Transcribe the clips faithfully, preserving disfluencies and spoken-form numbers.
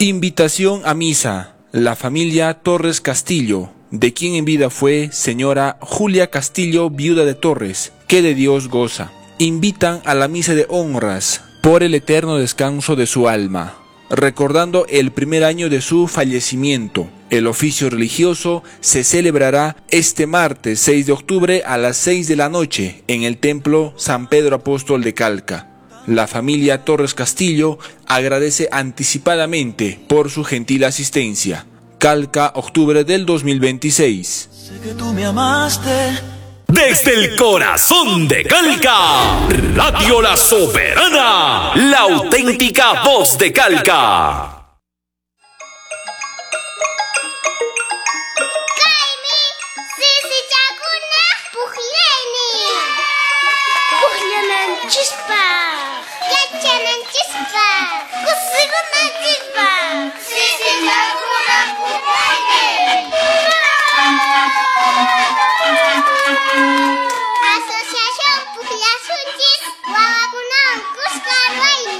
Invitación a misa. La familia Torres Castillo, de quien en vida fue señora Julia Castillo, viuda de Torres, que de Dios goza. Invitan a la misa de honras por el eterno descanso de su alma, recordando el primer año de su fallecimiento. El oficio religioso se celebrará este martes seis de octubre a las seis de la noche en el templo San Pedro Apóstol de Calca. La familia Torres Castillo agradece anticipadamente por su gentil asistencia. Calca, octubre del dos mil veintiséis. Sé que tú me amaste. Desde el corazón de Calca, Radio La Soberana, la auténtica voz de Calca. Asociación Pujllasunchis Wawakunawan Kuska Ruayni.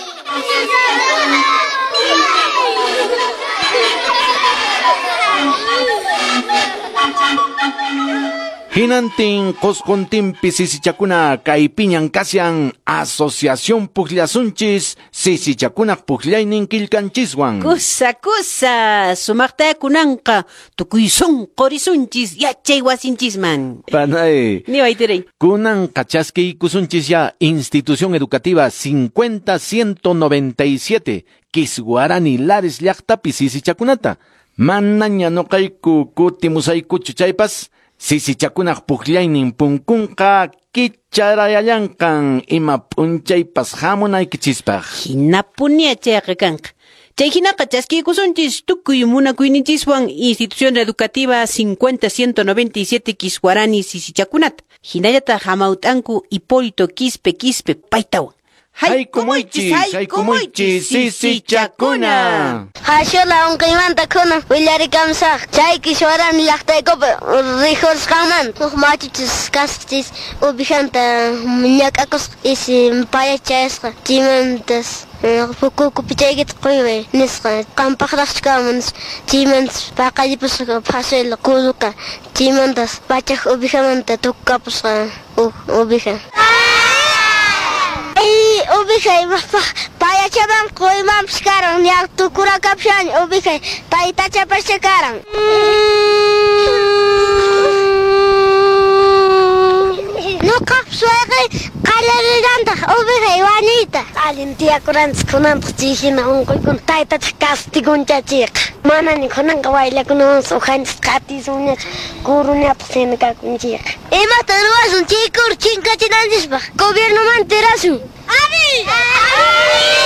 Hinantin Qosqontinpi sisichakuna kaypiñan kasyan Asociación Pujllasunchis sisichakunaq pujllaynin killkanchiswan. Kusa kusa sumaqta kunanqa tukuy sunqu risunchis yachay wasinchisman. Panay. Niway tiray. Kunanqa chaskiykusunchis ya Institución Educativa cincuenta ciento noventa y siete Kiswarani Lares llaqtapi sisichakunata. Manaña noqayku kutimusaykuchu chaypas sisichakunaq pukllaynin punkunqa kicharayallanqan ima p'unchaypas hamunaykichispaq. Hinapunia chayqa kanqa. Chay hinaqa chaskiykusunchis tukuy munakuyninchiswan Institución Educativa cincuenta ciento noventa y siete Kiswarani sisichakunata. Hinallataq hamawt'anku Hipólito Quispe Quispe paytawan. Haykumuychis, haykumuychis, sisichakuna. Hashola unqiymanta kunan willarikamsaq. Chay Kiswarani llaqtaykupi rijurisqanmanta huk machuchis kasqachis uvijanta ñak'akusqa isi payachayasqa chaymantas pukuku pichaykita quyway nisqa qampaqraqchu kanman nispa chaymantas paqallipusqa phasuyla kuluka chaymantas pachak uvijamanta tukukapusqa huk uvija. Ovejay payachaman quymanpas karan ña tukurakapushan ovejay taytachapascha karan. Nuqaqpas wayqey qallarirantaq ovejay wañuyta. Allin tiyakuranchis kunantaq chay hina unquykuna taytachaq castigunchachiqa. Manaña kunanqa waylakunawanpas ujanchis qatisunñachu kuruñapaq hina kakunchikqa. Imata ruwasun chay kuru chinkachinanchispaq gobiernomanta tirasun.